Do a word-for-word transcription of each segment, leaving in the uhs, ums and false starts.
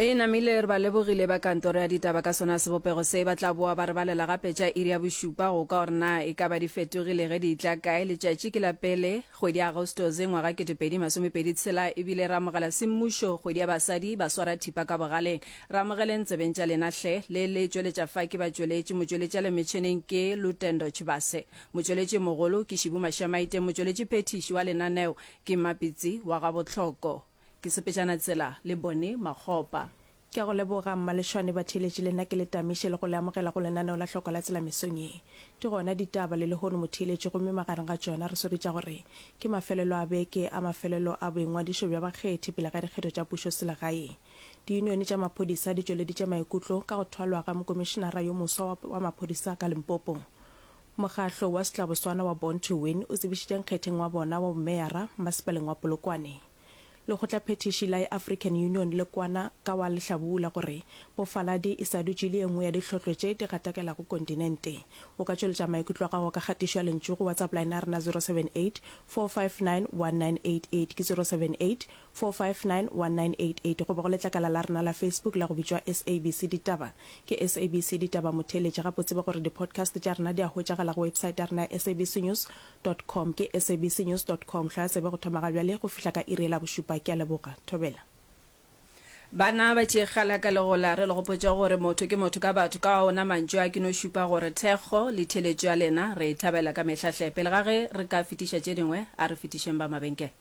E namile re ba lebogile ba kantoro ya ditaba ka sona sebopego se. Ba tla boa ba re balela gape tša iri ya bošupa go kwa gore na e ka ba di fetogile ge di etla kae. Letšatši ke la pele kgwedi ya Agostose ngwaga kete pedi masome pedi tshela ebile re amogela semmušo kgwedi ya basadi ba swara thipa ka bogaleng. Re amogeleng tsebeng tša lena hle. Le le tšweletša fa ke batšweletši. Motšweletši a le metšheneng ke Lutendo Tshivhase. Motšweletši mogolo ke Šibu Mašamaite. Motšweletši phethiši wa lenaneo ke Mmapitsi wa Gabohloko. Ke sepetšana tsela le Bonnie Makgopa. Ke a go leboga, Mmalešwane. Batheeletši le nna ke le tamiše le go le amogela go lenaneo la Hloko la Tsela mesong ye. Di gona ditaba le lehono motheeletši gomme magareng ga tšona re swere tša gore ke mafelelo a beke a mafelelo a boingwadišo bja bakgethi pele ga dikgetho tša pušo selegae. Diyunione tša maphodisa di tšweleditše maikutlo ka go thwalwa ga mokomišenara yo moswa wa maphodisa ka Limpopo. Mokgahlo wa setlaboswana wa Born to Win o tsebišitše nkgetheng wa bona wa bomeyara masepaleng wa Polokwane. Lekgotlaphethiši la African Union le kwana ka wa lehlabula gore bofaladi e sa dutše e le ye nngwe ya dihlotlo tše di gatakelago kontinente. O ka tšweletša maikutlo a gago ka kgatišo ya lentšu go WhatsApp line ya rena zero seven eight, four five nine, one nine eight eight ke zero seven eight, four five nine, one nine eight eight goba go letlakala la rena la Facebook la go bitšwa S A B C Ditaba ke S A B C Ditaba Motheeletši gape o tsebe gore di-podcast tša rena di a hwetšagala go website ya rena ya S A B C News dot com ke sabcnews dot com Hlwaya tsebe go thoma ga bjale go fihla ka iri ye la bošupa Ke a leboga. Thobela. Bana ba tšeegala ka legola, re le gopotše gore motho ke motho ka batho. Ka ona mantšu a ke no šupa gore thekgo le theeletšo ya lena re e thabela ka mehla hle. Pele ga ge re ka fetiša tše dingwe, a re fetišeng ba mabenkele.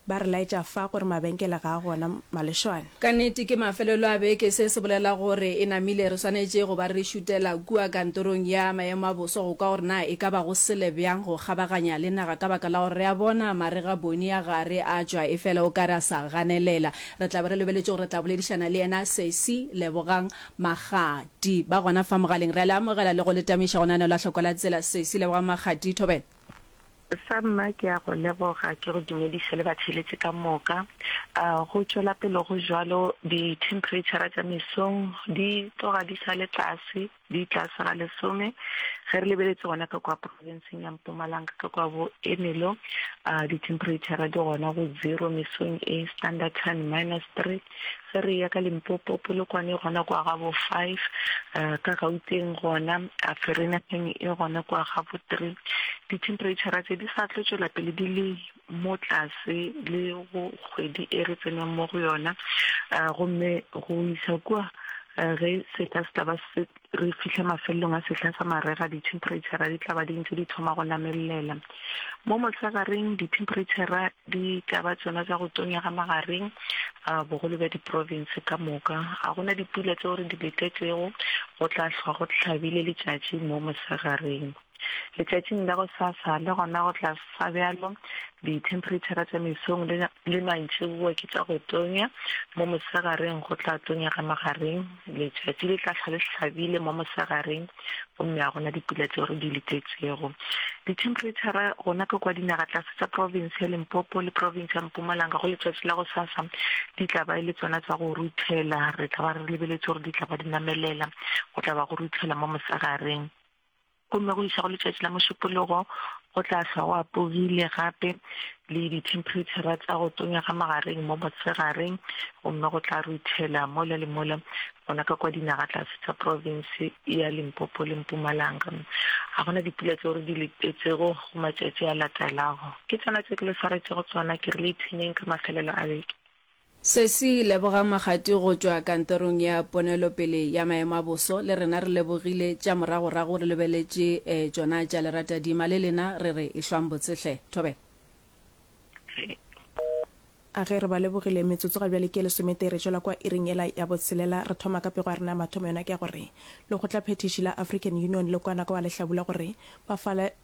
Ba re laetša fa gore mabenkele ga a gona Malešwane. Ka nnete ke mafelelo a beke. Se se bolela gore e namile re swanetše go ba re šutela kua kantorong ya maemo a boso go kwa gore na e ka ba go sele bjang go kgabaganya le naga ka baka la gore re a bona marega Boni a gare a tšwa efela o ka re a sa ganelela. Re tla be re lebeletše gore re tla boledišana le yena Sesi Lebogang Makgati. Ba gona fa mogaleng. Re a le amogela le go le tamiša go lenaneo la Hloko la Tsela. Sesi Lebogang Makgati, thobela. Sa mma ke a go leboga, ke go dumediše le batheeletši ka moka. Go tšwela pele go bjalo, dithemphereitšhara tša mesong di tloga di sa le tlase, di tlase ga lesome. Ge re lebeletše gona ka kwa profenseng ya Mpumalanga, ka kwa bo Ermelo, dithemphereitšhara di gona go zero mesong e, Standerton minus three. Ge re eya ka Limpopo, Polokwane e gona kwa ga bo five, ka Gauteng gona, Vereeniging e gona kwa ga bo three. Dithemphereitšhara tše di sa tlo tšwela pele di le mo tlase le go kgwedi e re tseneng mo go yona, gomme go isa kua ge sehla se tla ba se re fihla mafelelong a sehla sa marega, dithemphereitšhara di tla ba di ntše di thoma go namelela. Mo mosegareng dithemphereitšhara di tla ba tšona tša go tonya ga magareng a bogolo bja diprofense ka moka. Ga go na dipula tšeo re di letetšego, go tla hlwa go hlabile letšatši mo mosegareng. Letšatšing la gosasa le gona go tla sa bjalo, dithemphereitšhara tša mesong le, le mantšiboa ke tša go tonya, mo mosegareng go tla tonya ga magareng, letšatši le tla hlwa le hlabile mo mosegareng gomme ga go na dipula tšeo re di letetšego. Dithemphereitšhara gona ka kwa dinagatlase tša profense ya Limpopo le profense ya Mpumalanga go letšatši la gosasa di tla ba e le tšona tša go ruthela, re tla ba re lebeletše gore di tla ba di namelela, go tla ba go ruthela mo mosegareng. Gomme go iša go letšatši la Mošupologo go tla hlwa go apogile gape le dithemphereitšhara tša go tonya ga magareng mo mosegareng, gomme go tla ruthela mola le mola gona ka kwa dinagatlase tša profense ya Limpopo le Mpumalanga. Ga go na dipula tšeo re di letetšego go matšatši a latelago. Ke tšona tše ke le swaretšego tšona, ke re le ipshineng ka mafelelo a beke. Sesi Lebogang Makgati go tšwa kantorong ya ponelopele ya maemo a boso, le rena re lebogile tša moragorago re lebeletše tšona tša leratadima, le lena re re ehlwang botse hle. Thobela. A ge re ba lebogile, metsotso ga bjale ke e lesometee re tšwela kwa iring yela ya botshelela. Re thoma ka pego ya rena ya mathomo, yona ke ya gore Lekgotlaphethiši la African Union le kwana ka wa lehlabula gore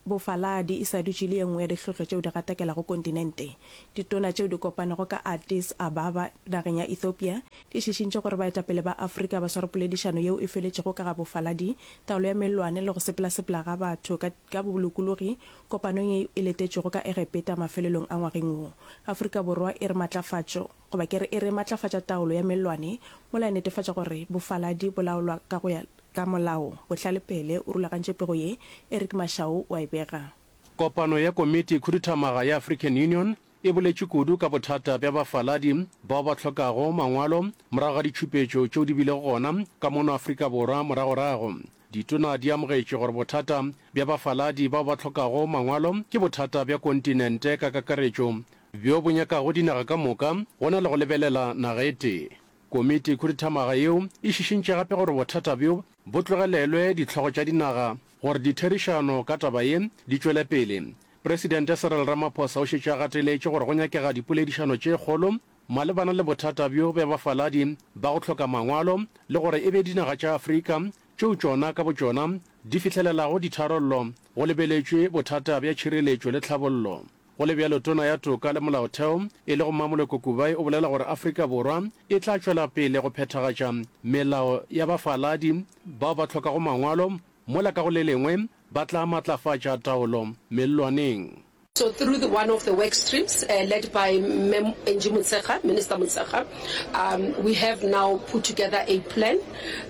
bofaladi e sa dutše e le ye nngwe ya dihlotlo tšeo di gatakelago kontinente. Ditona tšeo di kopanego ka Addis Ababa nageng ya Ethiopia di šišintše gore baetapele ba Afrika ba sware poledišano yeo e feletšego ka ga bofaladi, taolo ya mellwane le go sepelasepela ga batho ka ka bolokologi kopanong ye e letetšwego ka Egepeta mafelelong a ngwageng wo. Afrika Borwa e re matlafatšo goba ke re e re matlafatša taolo ya mellwane mola e netefatša gore bofaladi bo laolwa ka go ya ka molao. Bohlale Pele o rulagantše pego ye, Eric Mashau o a e bega. Kopano ya Komiti Khuduthamaga ya African Union e boletše kudu ka bothata bja bafaladi bao ba hlokago mangwalo morago ga ditšhupetšo tšeo di bilego gona ka mono Afrika Borwa moragorago. Ditona di amogetše gore bothata bja bafaladi bao ba hlokago mangwalo ke bothata bja kontinente ka kakaretšo bjo bo nyakago dinaga ka moka go na le go lebelela naga e tee. Komiti khuduthamaga yeo e šišintše gape gore bothata bjo bo tlogelelwe dihlogo tša dinaga gore ditherišano ka taba ye di tšwele pele. Presidente Cyril Ramaphosa o šetše a gateletše gore go nyakega dipoledišano tše kgolo malebana le bothata bjo bja bafaladi ba go hloka mangwalo le gore e be dinaga tša Afrika tšeo tšona ka botšona di fihlelelago ditharollo go lebeletšwe bothata bja tšhireletšo le tlhabollo. Go le bjalo, Tona ya Toka le Molaotheo e lego Mmamoloko Kubayi o bolela gore Afrika Borwa e tla tšwela pele go phethagatša melao ya bafaladi bao ba hlokago mangwalo mola ka go le lengwe ba tla matlafatša taolo mellwaneng. So through the one of the work streams uh, led by Mem Angie Motshekga, Minister Motshekga, um, we have now put together a plan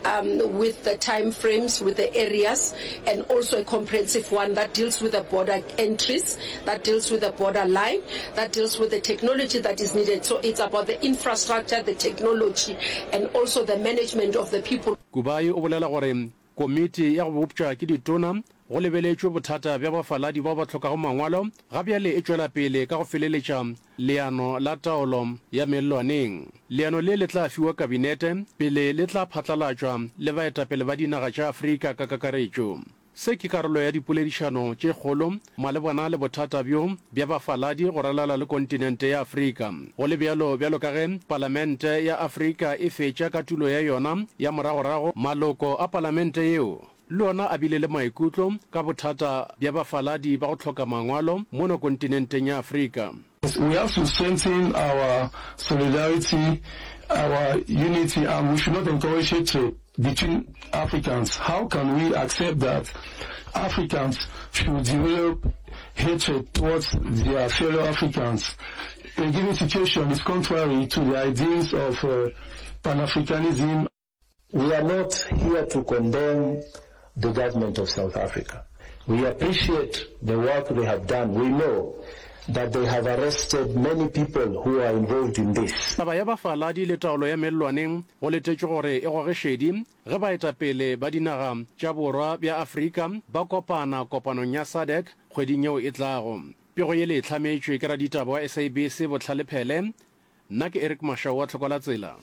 um, with the time frames, with the areas, and also a comprehensive one that deals with the border entries, that deals with the border line, that deals with the technology that is needed. So it's about the infrastructure, the technology, and also the management of the people. Kubayi o bolela gore Komiti ya go bopša ke ditona go lebeletšwe bothata bja bafaladi bao ba hlokago mangwalo ga bjale e tšwela pele ka go feleletša leano la taolo ya mellwaneng. Leano le le tla fiwa Kabinete pele le tla phatlalatšwa le baetapele ba dinaga tša Afrika ka kakaretšo. Se ke karolo ya dipoledišano tše kgolo malebana le bothata bjo bja bafaladi go ralala le kontinente ya Afrika. Go le bjalo, bjalo ka ge Palamente ya Afrika e fetša ka tulo ya yona ya moragorago, maloko a palamente yeo le ona a bile le maikutlo ka bothata bja bafaladi ba go hloka mangwalo mono kontinenteng ya Afrika. We have to strengthen our solidarity, our unity and we should not encourage hatred between Africans. How can we accept that Africans should develop hatred towards their fellow Africans? A given situation is contrary to the ideals of uh, Pan-Africanism. We are not here to condemn the government of South Africa. We appreciate the work they have done. We know that they have arrested many people who are involved in this. Taba ya bafaladi le taolo ya mellwaneng go letetšwe gore e goge šedi ge baetapele ba dinaga tša Borwa bja Afrika ba kopana kopanong ya SADC kgweding yeo e tlago. Pego ye le e hlametšwe ke raditaba wa S A B C Bohlale Phele. Nna ke Eric Mashau wa Tlhokolatsela.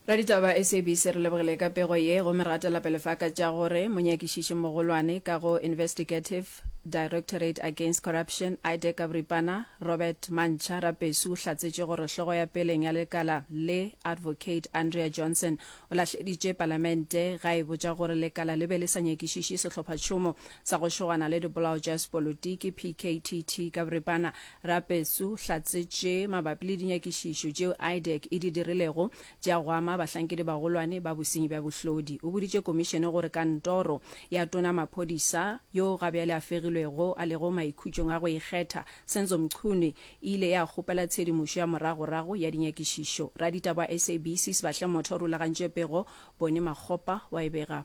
Raditaba S A B C re lebogile ka pego ye gomme re gatela pele fa ka tša gore monyakišiši mogolwane ka go Investigative Directorate Against Corruption, IDAC ka boripana, Robert Mantšha Rapesu o hlatsetše gore hlogo ya peleng ya lekala le Advocate Andrea Johnson o lahleditše palamente ga e botša gore lekala le be le sa nyakišiše sehlophatšhomo sa go šogana le dipolao tša sepolotiki, P K T T ka boripana. Rapesu hlatsetše mabapi le dinyakišišo tšeo IDAC e di dirilego tša go ama bahlankedi bagolwane ba bosenyi bja bohlodi. O boditše komišene gore kantoro ya tona maphodisa yo gabjale a fegilwego a lego maikhutšong a go ikgetha Senzo Mchunu e ile ya kgopela tshedimošo ya moragorago ya dinyakišišo. Raditaba wa S A B C Sebahle Motho o rulagantše pego, Bone Makgopa wa e bega.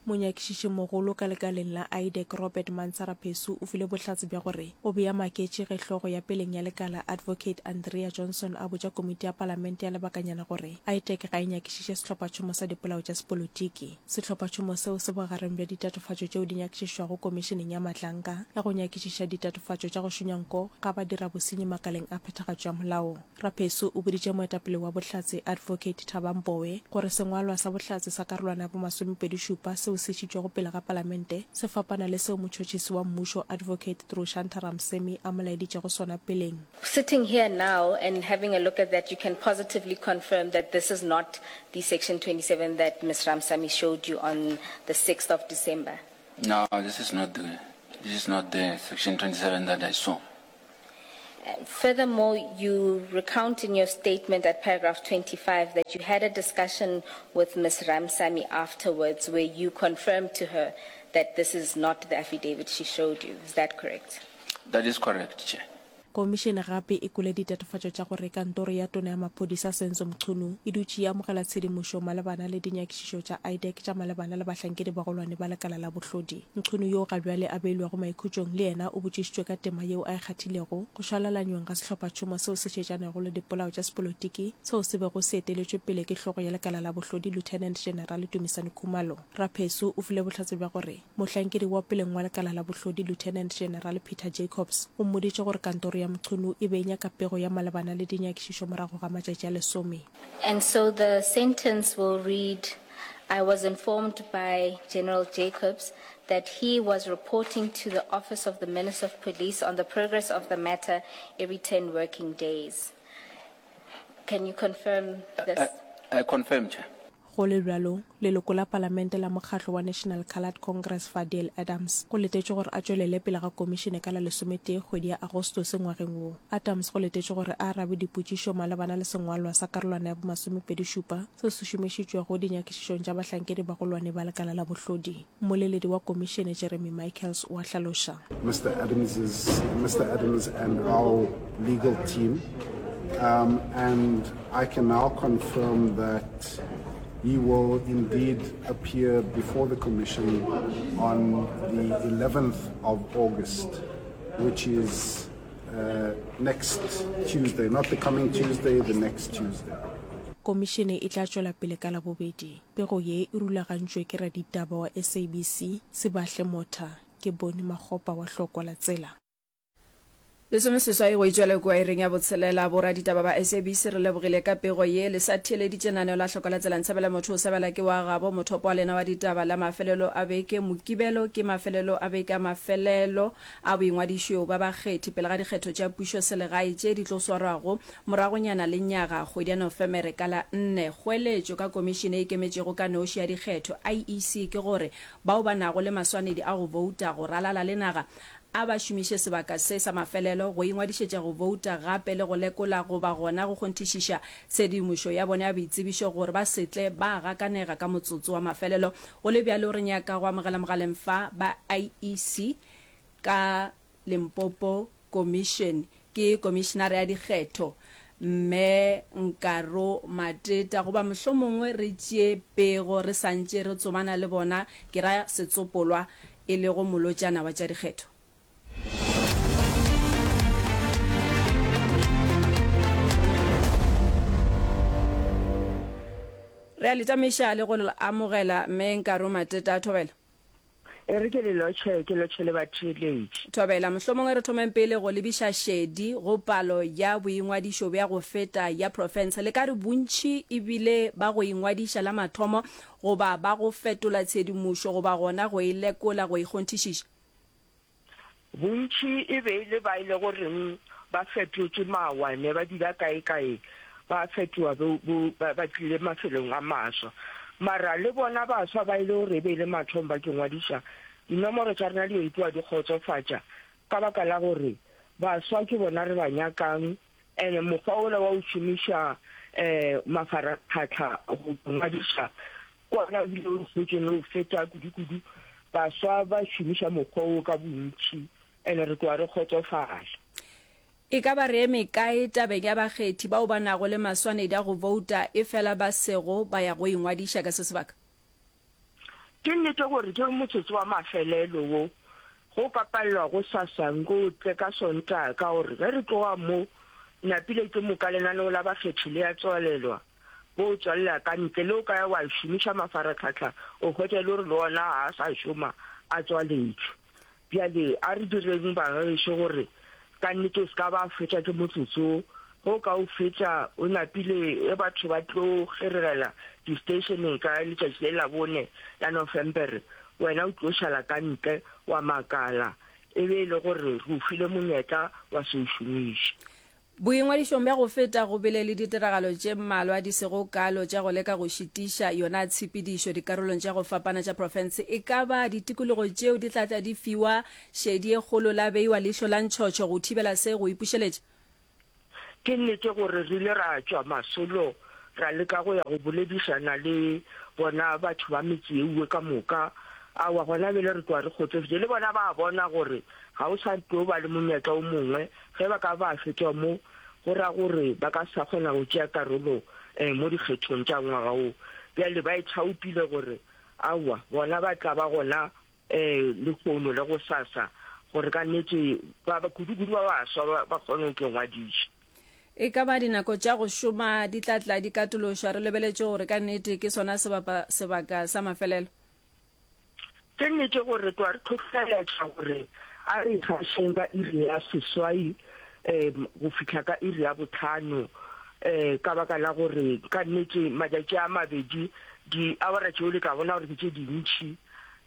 Monyakišišimogolo ka lekaleng la IDAC Robert Mantsara-Phesu o file bohlatse bja gore o be a maketše ge hlogo ya peleng ya lekala Advocate Andrea Johnson a botša komiti ya palamente ya lebakanyana gore IDAC ga e nyakišiše sehlophatšhomo sa dipolao tša sepolotiki. Sehlophatšhomo seo se bogareng bja ditatofatšo tšeo di nyakišišwago Komišeneng ya Matlanka ya go nyakišiša ditatofatšo tša go šonya nko ga badirabosenyi makaleng a phethagatšo ya molao. Raphesu o boditše moetapele wa bohlatse Advocate Thaba Mbowe gore sengwalwa sa bohlatse sa karolwana ya bomasomepedi šupa seo se išitšwego pele ga palamente se fapana le seo motšhotšhisi wa mmušo Advocate Drushantha Ramsamy a mo laeditšego sona peleng. Sitting here now and having a look at that, you can positively confirm that this is not the Section twenty-seven that Miz Ramsamy showed you on the sixth of December. No, this is not the, this is not the Section twenty-seven that I saw. Furthermore, you recount in your statement at paragraph twenty-five that you had a discussion with Miz Ramsamy afterwards where you confirmed to her that this is not the affidavit she showed you. Is that correct? That is correct, Chair. Komišene gape e kwele ditatofatšo tša gore kantoro ya Tona ya Maphodisa Senzo Mchunu e dutše e amogela tshedimošo malebana le dinyakišišo tša IDAC tša malebana le bahlankedi bagolwane ba lekala la bohlodi. Mchunu yoo gabjale a beilwego maikhutšong le yena o botšišitšwe ka tema yeo a e kgathilego go šwalalanyong ga sehlophatšhomo seo se šetšanego le dipolao tša sepolotiki seo se bego se eteletšwe pele ke hlogo ya lekala la bohlodi Lieutenant General Dumisani Khumalo. Raphesu o file bohlatse bja gore mohlankedi wa peleng wa lekala la bohlodi Lieutenant General Peter Jacobs o mmoditše gore kantoro ya Mchunu e be e nyaka pego ya malebana le dinyakišišo morago ga matšatši a lesome. And so the sentence will read, I was informed by General Jacobs that he was reporting to the office of the Minister of Police on the progress of the matter every ten working days. Can you confirm this? I, I confirm, Chair. Go le bjalo, leloko la palamente la mokgatlo wa National Coloured Congress Fadiel Adams go letetšwe gore a tšwelele pele ga komišene ka la lesometee kgwedi ya Agostose ngwageng wo. Adams go letetšwe gore a arabe dipotšišo malebana le sengwalwa sa karolwana ya bomasomepedi šupa seo se šomišitšwego dinyakišišong tša bahlankedi bagolwane ba lekala la bohlodi. Mmoleledi wa komišene Jeremy Michaels o a hlaloša. Mister Adams's, Mister Adams and our legal team, um, and I can now confirm that he will indeed appear before the Commission on the eleventh of August, which is, uh, next Tuesday, not the coming Tuesday, the next Tuesday. Komišene e tla tšwela pele ka Labobedi. Pego ye e rulagantšwe ke raditaba wa S A B C, Sebahle Motha. Ke Boni Makgopa wa Hlokwa la Tsela. Lesomeseswai go itšwela kua iring ya botshelela. Boraditaba ba S A B C re lebogile ka pego ye. Le sa theeleditše lenaneo la Hlokwa la Tsela. Ntshebela motho o sebela ke wa gabo. Mothopo wa lena wa ditaba la mafelelo a beke. Mokibelo ke mafelelo a beke a mafelelo a boingwadišo ba bakgethi pele ga dikgetho tša pušo selegae tše di tlo swarwago moragonyana le nyaga kgwedi ya Nofemere ka la nne. Kgoeletšo ka komišene e ikemetšego ka noši ya dikgetho I E C ke gore bao ba nago le maswanedi a go bouta go ralala le naga a ba šomiše sebaka se sa mafelelo go ingwadišetša go bouta gape le go lekola goba gona go kgonthišiša tshedimošo ya bona ya boitsebišo gore ba se tle ba gakanega ka motsotso wa mafelelo. Go le bjalo re nyaka go amogela mogaleng fa ba I E C ka Limpopo Commission ke komišenare ya dikgetho Mme Nkaro Mateta goba mohlomongwe re tšee pego re santše re tsomana le bona ke ra setsopolwa e lego molotšana wa tša dikgetho. Re a le tamiša le go le amogela Mme Nkaro Mateta. Thobela. E re ke le lotšhe, ke lotšhe le batheeletši. Thobela, mohlomongwe re thomeng pele go lebiša šedi go palo ya boingwadišo bja go feta ya profense. Le ka re bontši e bile ba go ingwadiša la mathomo goba ba go fetola tshedimošo goba gona go e lekola go e kgonthišiša? Bontši e be e le ba e le goreng ba fetotše mawa, ne ba dula kae-kae, ba fetoga bo, bo, ba, ba tlile mafelong a maswa. Mara le bona baswa ba e le gore e be e le mathomo ba ke ngwadiša, dinomoro tša rena di yo ipoa di kgotsofatša ka baka la gore baswa ke bona re ba nyakang, ene mokgwa wola wa go šomiša um mafaratlhatlha go ngwadiša ke ona o bile o hwetšeng le go feta kudu-kudu. Baswa ba šomiša mokgwa wo ka bontši, ene re tloga re kgotsofala. E ka ba re eme kae tabeng ya bakgethi bao ba nago le maswanedi a go bouta efela ba sego ba ya go ingwadiša ka se sebaka? Ke nnete gore ke motsotso wa mafelelo wo go ka palelwa go sasa nko o tle ka Sontaga, ka gore ge re tloga mo napile ke moka lenaneo la bakgethi le ya tswalelwa, bo o tswalela ka ntle le o ka ya wa šomiša mafaratlhatlha o hwetša e le gore le ona ga a sa šoma a tswaletšwe. Bjale a re direng bagešo gore ka nnete o se ka ba fetša ke motsotso, ge o ka o fetša o napile ge batho ba tlo kgeregela di-stationeng ka letšatši le la bone la Nofemere, wena o tlo šala ka ntle wa makala e be e le gore re o file monyetla wa se o šomiše. Boingwadišong bja go feta go bile le ditiragalo tše mmalwa di sego kalo tša go leka go šitiša yona tshepedišo dikarolong tša go fapana tša profense. E ka ba ditikologo tšeo di tla tla di fiwa šedi e kgolo la beiwa leihlo la ntšhotšho go thibela se go ipušeletša? Ke nnete gore re ile ra tšwa masolo ra leka go ya go boledišana le bona batho ba metse yeuwe ka moka, Aowa, gona bjale re tloga re kgotsofetše. Le bona ba a bona gore ga o sa tlo ba le monyetla o mongwe. Ge ba ka ba fetšwa mo, go ra gore ba ka se sa kgona go tšea karolo mo dikgethong tša ngwaga wo. Bjale ba ithaopile gore aowa, bona ba tla ba gona lehono le gosasa gore ka nnete ba, kudu-kudu ba baswa ba, ba kgone go tlo ngwadiša. E ka ba dinako tša go šoma di tla tla di katološwa re lebeletše gore ka nnete ke sona sebapa, sebaka sa mafelelo? Ke nnete gore re tloga re hlohleletša gore a re ikgašeng ka iri ya seswai um go fihla ka iri ya bohlano um ka baka la gore ka nnete matšatši a mabedi diawara tšeo le tla bona gore ke tše dintši.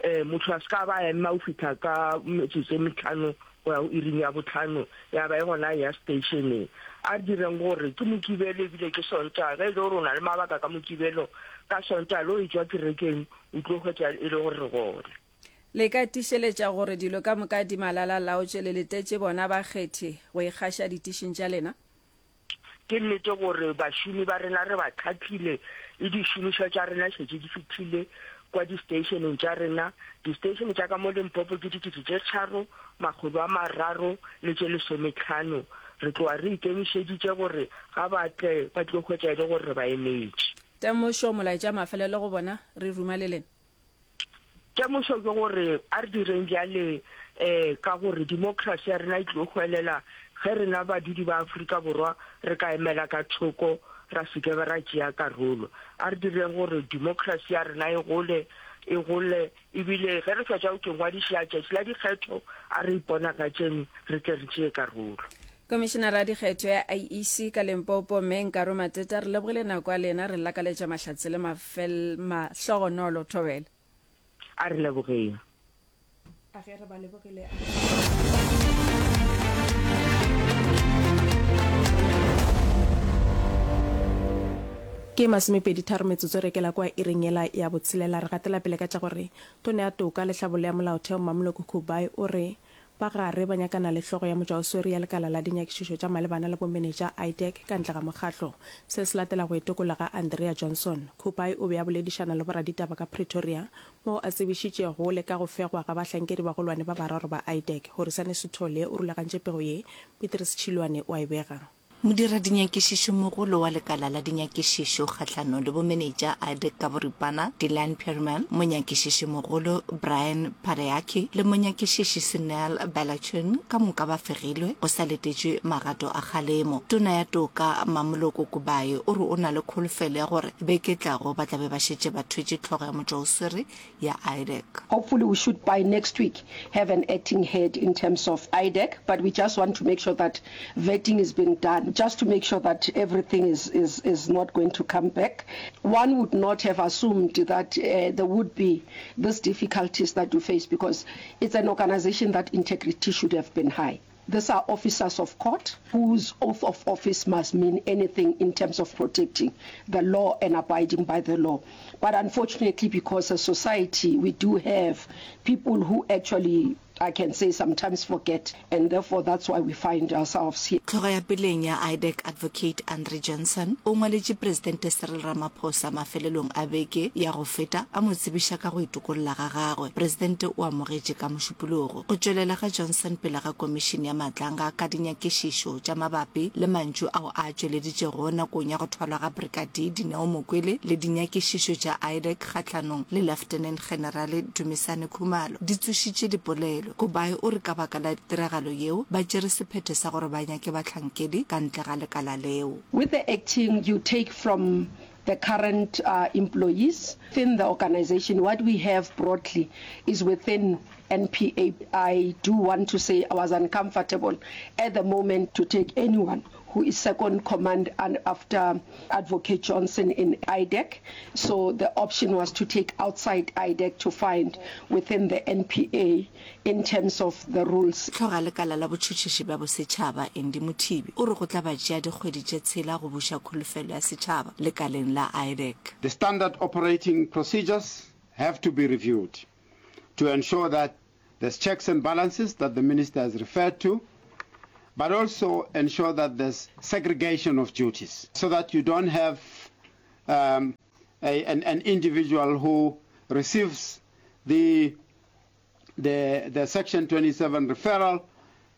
Um motho a se ka ba a ema go fihla ka metsotso e mehlano go ya go iring ya bohlano ya ba e gona a eya seteišeneng. A re direng gore ke Mokibelo ebile ke Sontaga. Ge e le gore o na le mabaka ka Mokibelo, ka Sontaga le o etšwa kerekeng o tlo hwetša e le gore re gona. Le ka tiišeletša gore dilo ka moka di malalalaotše le letetše bona bakgethi go ikgaša ditišing tša lena? Ke nnete gore bašomi ba rena re ba hlahlile le dišomišwa tša rena šetše di fihlile kwa disteišeneng tša rena. Disteišene tša ka mo Limpopo ke dikete tše tharo, makgolo a mararo le tše lesometlhano. Re tloga re ikemišeditše gore ga ba tle ba tlo hwetša e le gore re ba emetše. Temošo, Molaetša mafelelo go bona, re ruma le lena. Temošo ke gore a re direng bjale ka gore demokrasi ya rena e tlo hwelela ge rena badudi ba Afrika Borwa re ka emela ka thoko ra se ke ra tšea karolo. A re direng gore demokrasi ya rena e gole, e gole ebile ge re fetša go ngwadiša tšatši la dikgetho a re iponagatšeng re tle re tšee karolo. Komišenara ya dikgetho ya I E C ka Limpopo, Mme Nkaro Mateta, re lebogile nako ya lena, re lakaletša mahlatse le mahlogonolo. Thobela. A re lebogeng. A ge re ba lebogile. Ke masomepedi tharo metsotso re kela kua iring yela ya botshelela. Re gatela pele ka tša gore Tona ya Toka le Tlhabollo ya Molaotheo Mmamoloko Kubayi o re ba gare ba nyakana le hlogo ya motšwaoswere ya lekala la dinyakišišo tša malebana le bomenetša, IDAC, ka ntle ga mokgatlo. Se se latela go itokolla ga Andrea Johnson. Kubayi o be a boledišana le boraditaba ka Pretoria moo a tsebišitšego le ka go fegwa ga bahlankedi bagolwane ba bararo ba IDAC. Horisani Sithole o rulagantše pego ye, Petrus Tšhilwane o a e bega. Modiradinyakešešomogolo wa Lekala la Dinyakišišo Kgahlanong le Bomenetša, IDAC ka boripana, Dylan Perumal, Monyakišišimogolo Brian Padayachy le Monyakišiši Sunel Balachun ka moka ba fegilwe go sa letetšwe magato a kgalemo. Tona ya Toka Mamoloko Kubayi o re o na le kholofelo ya gore beke e tlago ba tla be ba šetše ba thwetše hlogo ya motšwaoswere ya IDAC. Hopefully we should by next week have an acting head in terms of IDAC, but we just want to make sure that vetting is being done, just to make sure that everything is, is, is not going to come back. One would not have assumed that uh, there would be these difficulties that you face, because it's an organization that integrity should have been high. These are officers of court whose oath of office must mean anything in terms of protecting the law and abiding by the law. But unfortunately, because as society we do have people who actually, I can say, sometimes forget, and therefore that's why we find ourselves here. Hlogo ya peleng ya IDAC Advocate Andre Johnson o ngwaletše Presidente Cyril Ramaphosa mafelelong a beke ya go feta a mo tsebiša ka go itokolla ga gagwe. Presidente o amogetše ka Mošupologo go tšwelela ga Johnson pele ga Komišene ya Matlanga ka dinyakišišo tša mabapi le mantšu ao a a tšweleditšego nakong ya go thwalwa ga Brigadier Dineo Mokwele le dinyakišišo tša IDAC kgahlanong le Leftenant Generale Dumisani Khumalo di tsošitše dipolelo. Kubayi o re ka baka la tiragalo yeo, ba tšere sephetho sa gore ba nyake bahlankedi ka ntle ga lekala leo. With the acting you take from the current employees within the organisation, what we have broadly is within N P A. I do want to say I was uncomfortable at the moment to take anyone who is second command and after Advocate Johnson in I D E C. So the option was to take outside I D E C to find within the N P A in terms of the rules. Hlogo ya lekala la botšhotšhiši bja bosetšhaba, Andy Mothibi, o re go tla ba tšea dikgwedi tše tshela go buša kholofelo ya setšhaba lekaleng la I D E C. The standard operating procedures have to be reviewed to ensure that there's checks and balances that the minister has referred to, but also ensure that there's segregation of duties so that you don't have, um, a, an, an individual who receives the, the, the Section twenty-seven referral,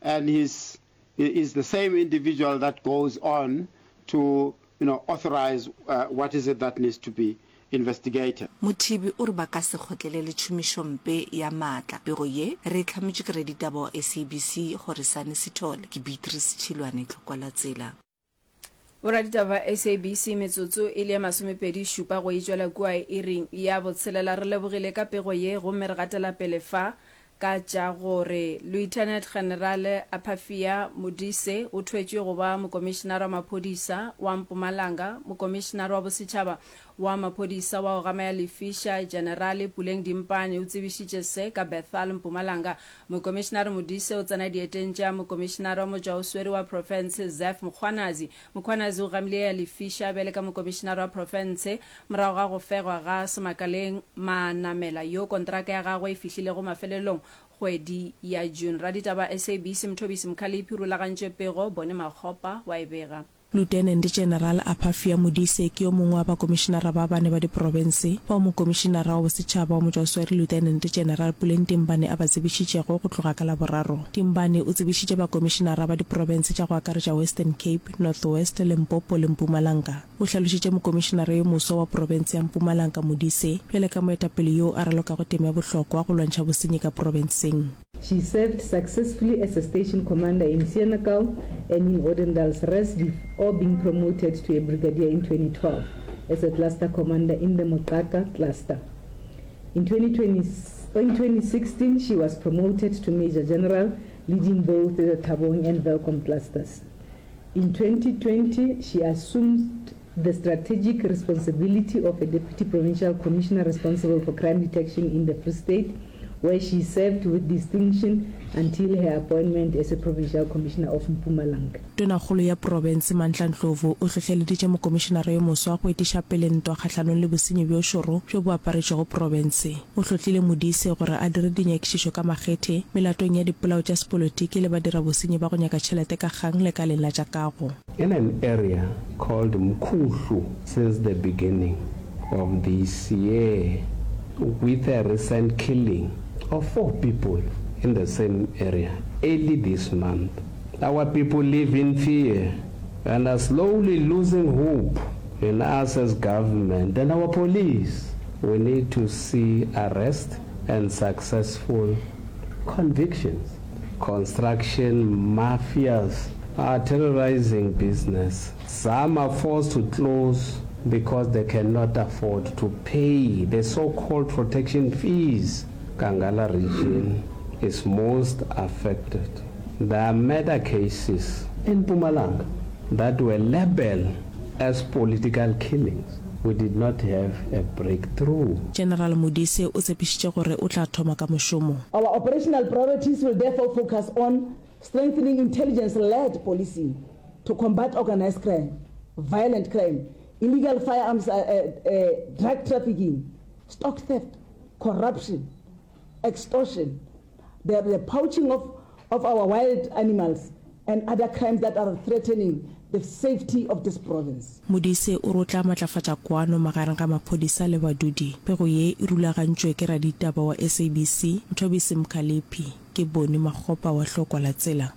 and he's, he is the same individual that goes on to, you know, authorize, uh, what is it that needs to be investigated. Mothibi o re ba ka se kgotlelele tšhomišompe ya maatla. Pego ye re e hlametšwe ke raditaba wa S A B C Horisani Sithole. Ke Beatrice Tšhilwane, Tlokwa la Tsela. Boraditaba ba S A B C metsotso e le ye masomepedi šupa go e tšwela kua iring ya botshelela. Re lebogile ka pego ye gomme re gatela pele fa ka tša gore Lieutenant General Aphafia Modise o thwetšwe go ba Mokomišenare wa Maphodisa wa Mpumalanga. Mokomišenare wa Bosetšhaba wa Maphodisa wa go gama ya lefiša Generale Puleng Dimpane o tsebišitše se ka Bethal, Mpumalanga. Mokomišenare Modise o tsena dieteng tša Mokomišenare wa Motšwaoswere wa Profense Zeph Mkhwanazi. Mkhwanazi o gamile ya lefiša bjale ka Mokomišenare wa Profense morago ga go fegwa ga Semakaleng Manamela yo kontraka ya gagwe e fihlilego mafelelong kgwedi ya June. Raditaba S A B C Mthobisi Mkhaliphi o rulagantše pego, Bone Makgopa wa e bega. Lieutenant General Aphafia Modise ke yo mongwe wa bakomišenara ba bane ba diprofense bao Mokomišenara wa Bosetšhaba wa Motšwaoswere Lieutenant General Puleng Dimbane a ba tsebišitšego go tloga ka Laboraro. Dimbane o tsebišitše bakomišenara ba diprofense tša go akaretša Western Cape, North West, Limpopo le Mpumalanga. O hlalošitše mokomišenara yo moswa wa profense ya Mpumalanga Modise bjale ka moetapele yoo a ralokago tema ya bohlokwa go lwantšha bosenyi ka profenseng. She served successfully as a station commander in Senekal and in Odendaalsrus before being promoted to a brigadier in twenty twelve as a cluster commander in the Moqhaka cluster. In twenty twenty, in twenty sixteen, she was promoted to Major General, leading both the Thabong and Welkom clusters. In twenty twenty, she assumed the strategic responsibility of a Deputy Provincial Commissioner responsible for crime detection in the Free State, where she served with distinction until her appointment as a Provincial Commissioner of Mpumalanga. Tonakgolo ya profense Mandla Ndlovu o hlohleleditše mokomišenara yo moswa go etiša pele ntwa kgahlanong le bosenyi bjo šoro bjo bo aparetšego profense. O hlohlile Modise gore a dire dinyakišišo ka makgethe melatong ya dipolao tša sepolotiki le badirabosenyi ba go nyaka tšhelete ka kgang lekaleng la tša kago. In an area called Mkhuhlu since the beginning of this year, with a recent killing of four people in the same area early this month. Our people live in fear and are slowly losing hope in us as government and our police. We need to see arrest and successful convictions. Construction mafias are terrorizing business. Some are forced to close because they cannot afford to pay the so-called protection fees. Kangala region is most affected. There are murder cases in Mpumalanga that were labeled as political killings. We did not have a breakthrough. General Modise o tshepišitše gore o tla thoma ka mošomo. Our operational priorities will therefore focus on strengthening intelligence-led policing to combat organized crime, violent crime, illegal firearms, uh, uh, uh, drug trafficking, stock theft, corruption, extortion, the, the poaching of, of our wild animals and other crimes that are threatening the safety of this province. Modise o re o tla matlafatša kwano magareng ga maphodisa le badudi. Pego ye e rulagantšwe ke raditaba wa S A B C, Mthobisi Mkhaliphi. Ke Boni Makgopa wa Hlokwa la Tsela.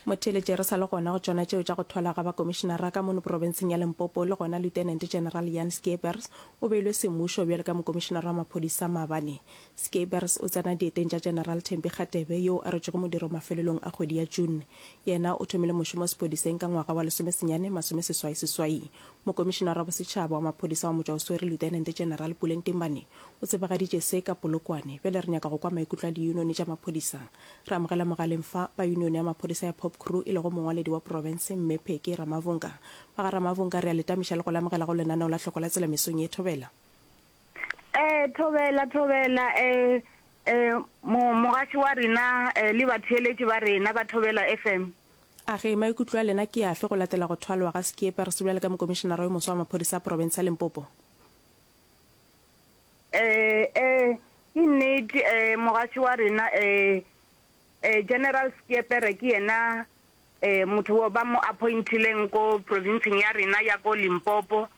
Motheeletše re sa le gona go tšona tšeo tša go thwala ga bakomišenara ka mono profenseng ya Limpopo le gona Lieutenant General Jan Scheepers o beilwe semmušo bjalo ka mokomišenara wa maphodisa maabane. Scheepers o tsena dieteng tša General Thembi Kgatebe yoo a rotšego modiro mafelelong a kgwedi ya June. Yena o thomile mošomo sephodiseng ka ngwaga wa lesomesenyane masomeseswai seswai. Mokomišenara wa bosetšhaba wa maphodisa wa motšwaoswere Lieutenant General Puleng Timbane o tsebagaditše se ka Polokwane. Bjale re nyaka go kwa maikutlo a diyunoni tša maphodisa. Re amogela mogaleng fa ba yunione ya maphodisa ya Pop Crew e lego mongwaledi wa profense Mme Pheke Ramavhunga. Ba ga Ramavhunga re a le tamiša le go lamogela go lenaneo la Hloko la Tsela mesong ye. Thobela. Eh, thobela, thobela, eh, eh, mo, mogaši wa rena, eh, le batheeletši ba rena ba Thobela F M. A ge maikutlo a lena ke afe go latela go thwalwa ga Scheepers bjale ka mokomišenara yo moswa wa maphodisa a profense ya Limpopo? Eh, eh, ke nnete, eh, mogaši wa rena, eh, eh, General Scheepers ke yena, eh, motho wo ba mo appointileng ko provinceng ya rena ya ko Limpopo.